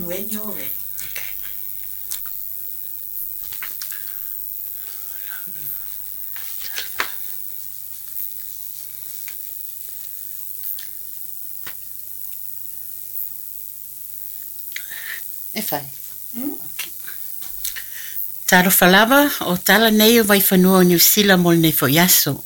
When you're ready. E fai. Okay. Talofa lava, o tala nei o Vaifanua o Niu Sila mo lenei foi aso.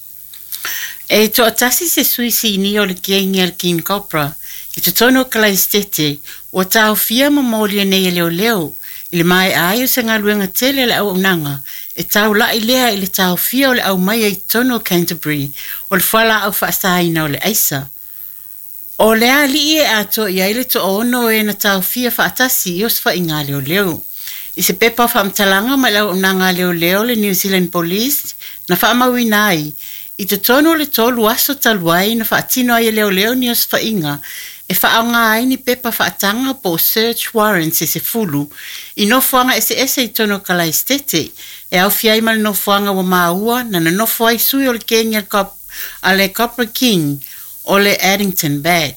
E toatasi se sui sinia o le kengi a le King Cobra i totonu o Kalaesetete ua taofia ma molia nei e leoleo i le maea ai o se galuega tele a le auaunaga e taula'i lea i le taofia o le aumaia i totonu o Canterbury o le fualaau faasaina o le aisa. O le alii e atoa i ai le toaono o e na taofia faatasi i osofaiga a leoleo. I se pepa o faamatalaga mai le auaunaga a leoleo le New Zealand Police na faamauina ai i totonu o le 3 aso talu ai na faatino ai e leoleo ni osofaiga e faaaoga ai ni pepa faataga po o search warrants e 10 i nofoaga eseese i totonu o Kalaesetete e aofia ai ma le nofoaga ua maua na nonofo ai sui o le kegi a le Copra King o le Addington Bat.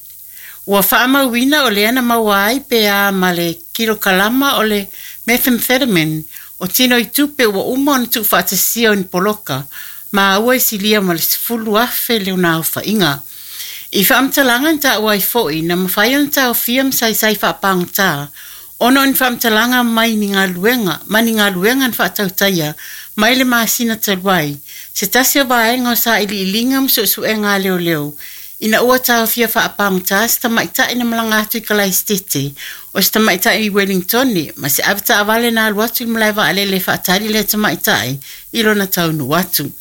Ua faamauina o lea na maua ai pe a ma le kilokalama o le methamphetamine o tino i tupe ua uma ona tuufaatasia o ni poloka ma ua isilia ma le 10,000 le ona aofaiga. I faamatalaga na taua ai foi na mafai ona taofia ma saisai faapagota ona o ni faamatalaga mai ni galuega ma ni galuega na faatautaia mai le masina talu ai se tasi o vaega o sailiiliga ma suesuega a leoleo ina ua taofia faapagota se tamaitai na malaga atu i Kalaesetete o se tamaitai i Wellingtone ma se avetaavale na alu atu i le malae vaalele e faatali lea tamaitai i lona taunuu atu.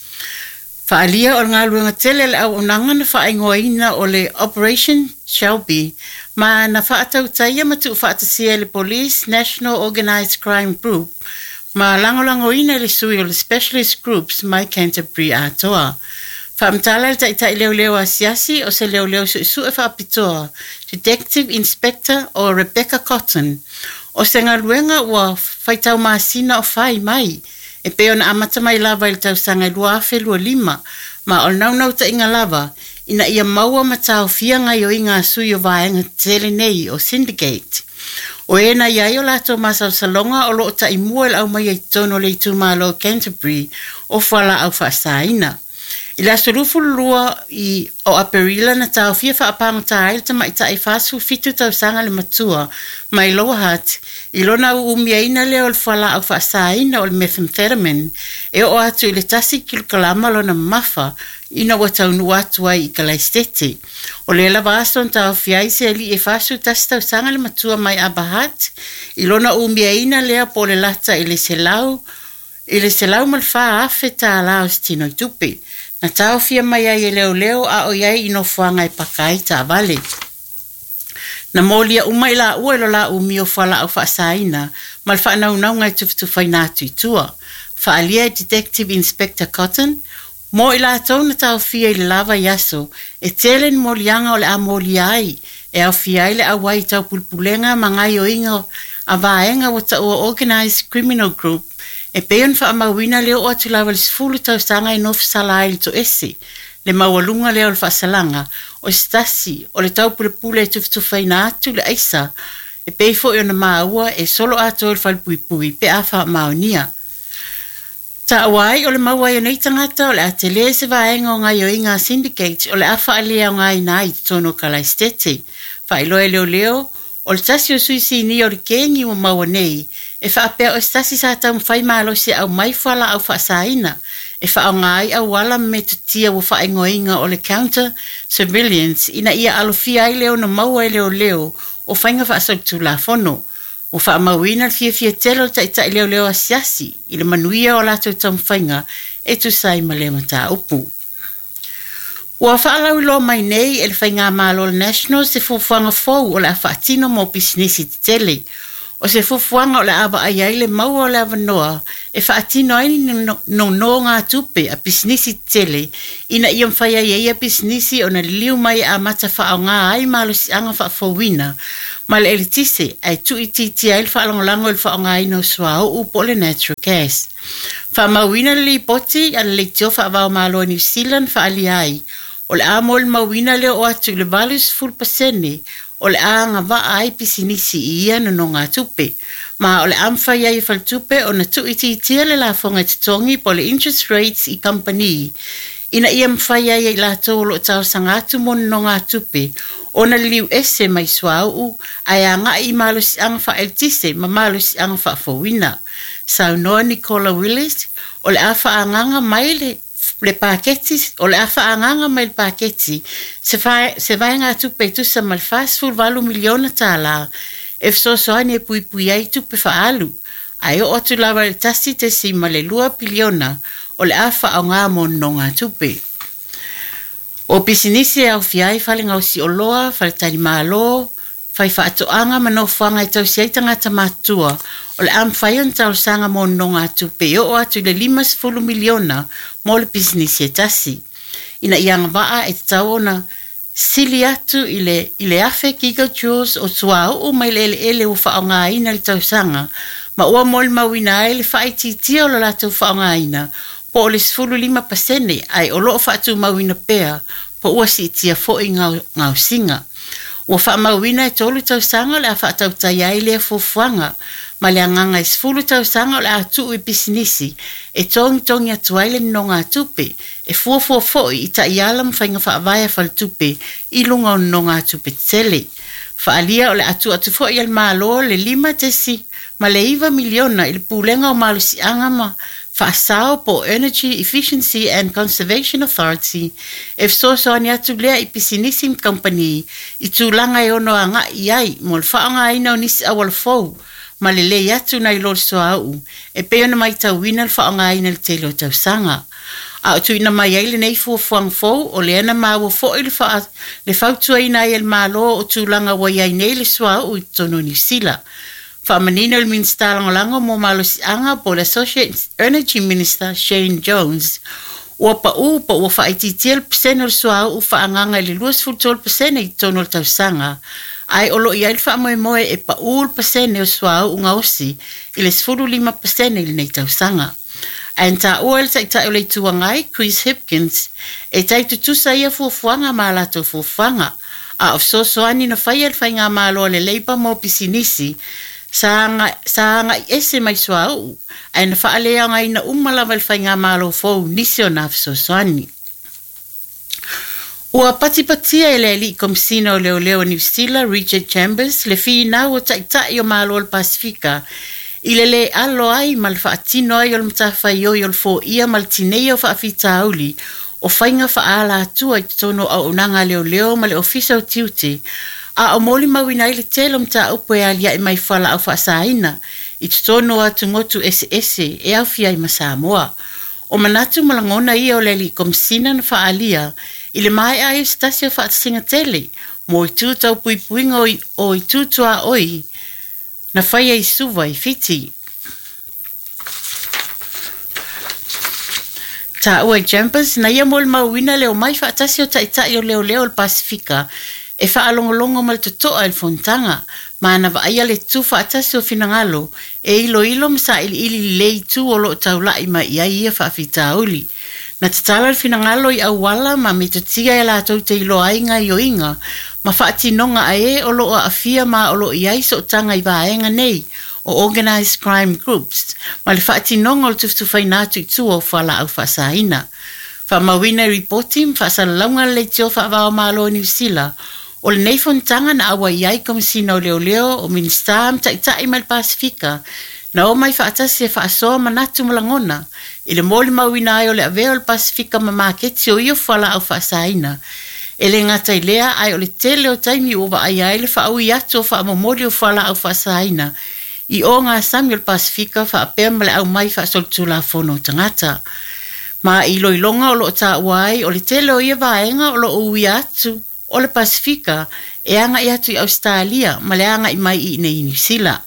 Faaalia o le galuega tele le auaunaga na faaigoaina o le Operation Shelby ma na faatautaia ma tuufaatasia e le Police National Organised Crime Group ma lagolagoina e le sui o le Specialist Groups mai Canterbury atoa. Faamatala le taitai leoleo asiasi o se leoleo suesue faapitoa Detective Inspector o Rebecca Cotton o se galuega ua faitau masina o fai mai e pei ona amata mai lava i le tausaga e 2025 ma o le naunautaiga lava ina ia maua ma taofia gaoioiga a sui o vaega tetele nei o Syndicate. O e na i ai o latou masalosaloga o loo taimua i le aumaia i totonu o le itumalo Canterbury o fualaau faasaina. I le aso 22 i o Aperila na taofia faapagota ai le tamaitai 47 tausaga le matua mai Lower Hutt i lona uumiaina lea o le fualaau faasaina o le methamphetamine e oo atu i le 1 kilokalama lona mamafa ina ua taunuu atu ai i Kalaesetete. O lea lava aso na taofia ai se alii e 41 tausaga le matua mai Upper Hutt i lona uumiaina lea po o le lata i le $104,000 o se tino i tupe. Na taofia mai ai e leoleo a o i ai i nofoaga e paka ai taavale. Na molia uma i laua i lo la umia o fualaau faasaina ma le faanaunauga e tufatufaina atu i tua. Faaalia e Detective Inspector Cotton, mo i latou na taofia i le lava i aso, e tele ni moliaga o le a molia ai, e aofia ai le auai i taupulepulega ma gaoioiga a vaega ua taua Organised Criminal Group, e pei ona faamauina le oo atu lava i le 10 tausaga e nofosala ai le toese, le maualuga lea o le faasalaga, o se tasi o le taupulepule e tufatufaina atu le aisa, e pei foi ona maua e solo atoa i le falepuipui pe a faamaonia. Taua ai o le maua ai o nei tagata o le a tele se vaega o gaoioiga a Syndicate o le a faaleaogaina ai i totonu o Kalaesetete. Faailoa e leoleo o le tasi o sui sinia o le kengi ua maua nei e faapea o se tasi sa taumafai malosi e aumai fualaau faasaina e faaaoga ai auala ma metotia ua faaigoaina o le counter surveillance ina ia alofia ai le ono maua e leoleo o faiga faasolitulafono. Ua faamauina le fiafia tele o le taitai leoleo asiasi i le manuia o latou taumafaiga e tusa ai ma lea mataupu. Ua faalauiloa mai nei e le Faigamalo o le National se fuafuaga fou o le a faatino mo pisinisi tetele. O se fuafuaga o le a vaai ai le maua o le avanoa e faatino ai ni nonogatupe a pisinisi tetele ina ia mafai ai e ia pisinisi ona liliu mai e amata faaaoga ai malosiaga faafouina ma le eletise ae tuuitiitia ai le faalagolago i le faaaogaina o suauu po o le natural gas. Faamauina le lipoti a le Leitio Faavao Malo o New Zealand faaalia ai o le a molimauina le oo atu i le 80% o le a agavaa ai pisinisi i ia nonogatupe. Ma o le a mafai ai e Faletupe ona tuuitiitia le lafoga e totogi po o le interest rates i kamupani ina ia mafai ai e i latou o lo o talosaga atu mo nonogatupe ona liliu ese mai suauu ae agai i malosiaga faaeletise ma malosiaga faafouina. Saunoa Nicola Willis, o le a faaagaaga mai le paketi o le a faaagaaga mai le paketi se, se vaegatupe e tusa ma le $48 miliona tālā e fesoasoani e puipui ai tupe faaalu ae oo atu lava i le 1.2 piliona o le a faaaoga mo nonogatupe. O pisinisi e aofia ai fale gaosi oloa, faletalimalo, fai faatoaga ma nofoaga e tausi ai tagata matutua o le a mafai ona talosaga mo nonogatupe e oo atu i le $50 miliona mo le pisinisi e tasi. Ina ia agavaa e tatau ona sili atu i le 1,000 gigajoules o suauu mai le eleele ua faaaogaina i le tausaga ma ua molimauina ai le faaitiitia o le latou faaaogaina po o le 15% ae o lo o faatumauina pea po ua siitia foi gaosiga. Ua faamauina e 3 tausaga o le a faatautai ai lea fuafuaga ma le agaga e 10 tausaga o le a tuu i pisinisi e togitogi atu ai le nonogatupe e fuafua foi i taiala ma faiga faavae a faletupe i luga o nonogatupe tetele. Faaalia o le a tuu atu foi e le Malo le $5.9 miliona i le Pulega o Malosiaga ma Faasao po o Energy Efficiency and Conservation Authority e fesoasoani atu lea i pisinisi ma kamupani i tulaga e ono agai i ai mo le faaaogaina o nisi auala fou ma lelei atu nai lo le suauu e pei ona matauina le faaaogaina i le tele o tausaga. A o tuuina mai ai lenei fuafuaga fou o lea na maua foi le, le fautuaina ai e le Malo o tulaga ua i ai nei le suauu i totonu o Niu Sila. Faamanino le Minisita Lagolago mo Malosiaga po o le Associate Energy Minister Shane Jones ua pau po ua faaitiitia le pasene o le suauu faaagaaga i le 23% i totonu o le tausaga, ae o lo o i ai le faamoemoe e pau le pasene o suauu gaosi i le 15% i lenei tausaga. Ae na taua e le Taitai o le Itu Agai, Chris Hipkins, e tai tutusa ia fuafuaga ma a latou fuafuaga, a o fesoasoani na faia e le Faigamalo a le Labour mo pisinisi sa agai ese mai suauu, ae na faaleaogaina uma lava e le Faigamalo fou nisi o nā fesoasoani. Ua patipatia e le Alii Komesina o Leoleo o Niu Sila, Richard Chambers, le finau o Taitai o Malo o le Pasefika i le lē alo ai ma le faatino ai o le matafaioi o le foia ma le tineia o faafitauli o faiga faaalatua i totonu o auaunaga a leoleo ma le Ofisa o Tiute, a o molimauina ai le tele o mataupu e aliae mai fualaau faasaina i totonu o atumotu eseese e aofia ai ma Samoa. O manatu ma lagona ia o le Alii Komesina na faaalia i le maea ai o se tasi o faatasiga tele mo itu tau puipuiga o itu tuaoi na faia i Suva i Fiti. Taua i Chambers na ia molimauina le omai faatasi o taitai o leoleo o le Pasefika e faalogologo ma le totoa i le fonotaga, ma na vaaia le tutu faatasi o finagalo e iloilo ma sailiili lelei itu o lo o taulai mai i ai ia faafitauli. Na tatala le finagalo i auala ma metotia e latou te iloa ai gaoioiga ma faatinoga a e o lo o aafia ma o lo o i ai sootaga i vaega nei o Organised Crime Groups ma le faatinoga o le tufatufaina atu i tua o fualaau faasaina. Faamauina i ripoti ma faasalalauga a le Leitio Faava o Malo o Niu Sila o lenei fonotaga na auai ai Komesina o Leoleo, o Minisita ma Taitai mai le Pasefika na omai faatasi e faasoa manatu ma lagona i le molimauina ai o le avea o le Pasefika ma maketi o ia fualaau faasaina. E le gata i lea, ae o le tele o taimi ua vaaia ai le faaui atu o faamomoli o fualaau faasaina i o gasami o le Pasefika faapea ma le aumai faasolitulafono o tagata. Ma i iloiloga o lo o taua ai o le tele o ia vaega o lo o uia atu o le Pasefika e agai atu i Ausetalia ma le agai mai i inei i Niu Sila.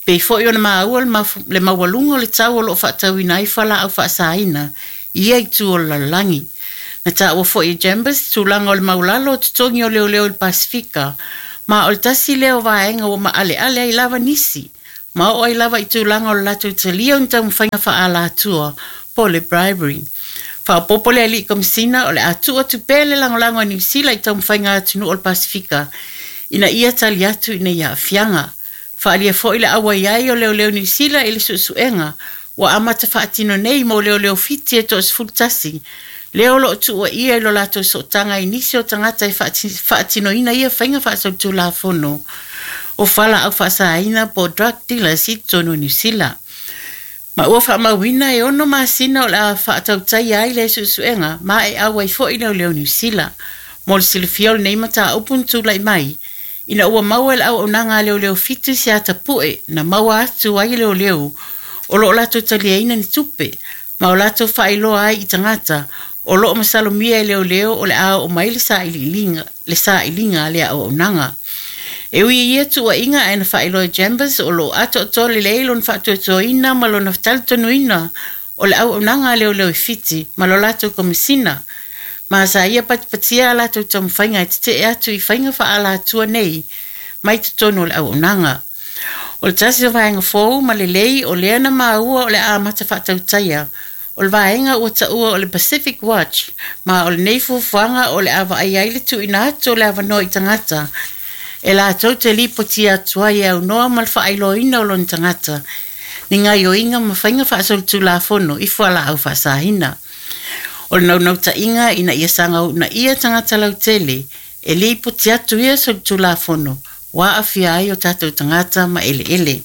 Pei foi ona maua le maualuga o le tau o lo o faatauina ai fualaau faasaina i ia itu o le lalolagi. Na taua foi e Chambers tulaga o le maulalo o totogi o leoleo i le Pasefika, ma o le tasi lea o vaega ua maaleale ai lava nisi, ma oo ai lava i tulaga o le latou talia o ni taumafaiga faaalatua po o le bribery. Faaopoopo le Alii Komesina o le a tuu atu pea le lagolago a Niu Sila i taumafaiga a atunuu o le Pasefika ina ia tali atu i nei aafiaga. Faaalia foi le auai ai o Leoleo Niu Sila i le suesuega ua amata faatino nei mo leoleo Fiti e toa-11, lea o lo o tuuaia i lo latou sootaga i nisi o tagata e faatinoina ia faiga faasolitulafono o fualaau faasaina po o drug dealers i totonu o Niu Sila. Ma ua faamauina e 6 masina o le a faatautaia ai lea suesuega ma e auai foi leoleo Niu Sila. Mo le silafia o lenei mataupu na tulai mai, ina ua maua e le auaunaga a leoleo Fiti se atapue na maua atu ai e leoleo o lo o latou taliaina ni tupe ma o latou faailoa ai i tagata o lo o masalomia e leoleo o le a oo mai le sailiiliga le sailiga a le auaunaga. E ui i ia tuuaiga ae na faailoa e Chambers o lo o atoatoa lelei lona faatuatuaina ma lona talitonuina o le auaunaga a leoleo i Fiti ma lo latou komesina ma sa ia patipatia a latou taumafaiga e tetee atu i faiga faaalatua nei mai totonu o le auaunaga. O le tasi o vaega fou ma lelei o lea na maua o le a amata faatautaia o le vaega ua taua o le Pacific Watch, ma o lenei fuafuaga o le a vaaia ai le tuuina atu o le avanoa i tagata e latou te lipotia atu ai e aunoa ma le faailoaina o lona tagata ni gaoioiga ma faiga faasolitulafono i fualaau faasaina. O le naunautaiga ina ia saga uunaia tagata lautele e lipoti atu ia solitulafono ua aafia ai o tatou tagata ma eleele.